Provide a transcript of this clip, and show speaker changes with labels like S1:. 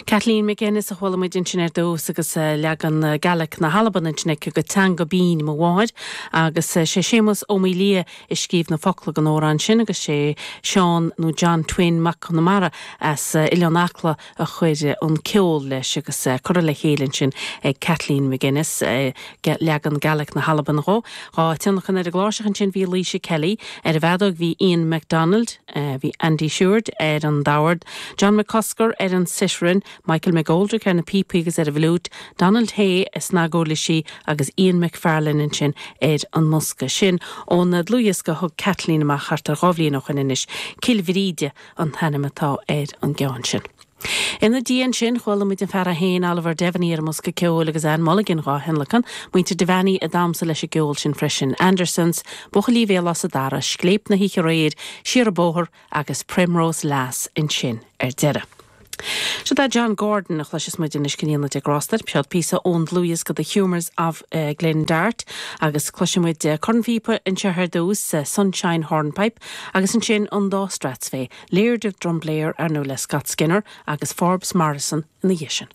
S1: Kathleen McGuinness a chuala muid ansin ar dtús agus leagan Gaelic na hAlban ansin aici de Teanga Binn Mo Mháthair agus sé Séamus Ó Maolaodha a scríobh na focla don amhrán sin agus sé Seán nó John Twin Mac Conamara as Oileán Acla a chuir an ceol leis agus curtha le chéile ansin ag Kathleen McGuinness, leagan Gaelic na hAlban dhó. Dhá thionlacan ar an gcláirseach ansin bhí Laoise Kelly, ar an bhfeadóg bhí Ian McDonald, bhí Andy Seward ar an dordán, John McCusker ar an citharon, Michael McGoldrick ar na píopaí agus ar an bhfliúit, Donald Hay ar snaguirlisí agus Ian McFarlane ansin ar an mbosca. Sin ón dlúthdhiosca a thug Kathleen amach thart ar dhá bhliain ó shoin anois, Cill Bhríde an t-ainm atá ar an gceann sin. Ina diaidh ansin, chuala muid an fear é féin, Oliver Devaney ar an mbosca ceoil agus Anne Mulligan dhá thionlacan, muintir Devaney a d'amsa leis an gceol sin freisin, Andersons, Buachaillí Bhéal Átha Dara, Scléip na hOíche Aréir, Siar an Bóthar agus Primrose Lass ansin ar deireadh. Siod é John Gordon a chloisfeas muid anois go ndéana Dia grásta air. Seod píosa ón dlúthdhiosca The Humours of Glen Dart agus cloisfidh muid cornphíopa anseo ar dtús, Sunshine Hornpipe, agus ansin an dá Strathspey, Laird of Drumblair, ar ndóigh le Scott Skinner agus Forbes Morrison ina dhiaidh sin.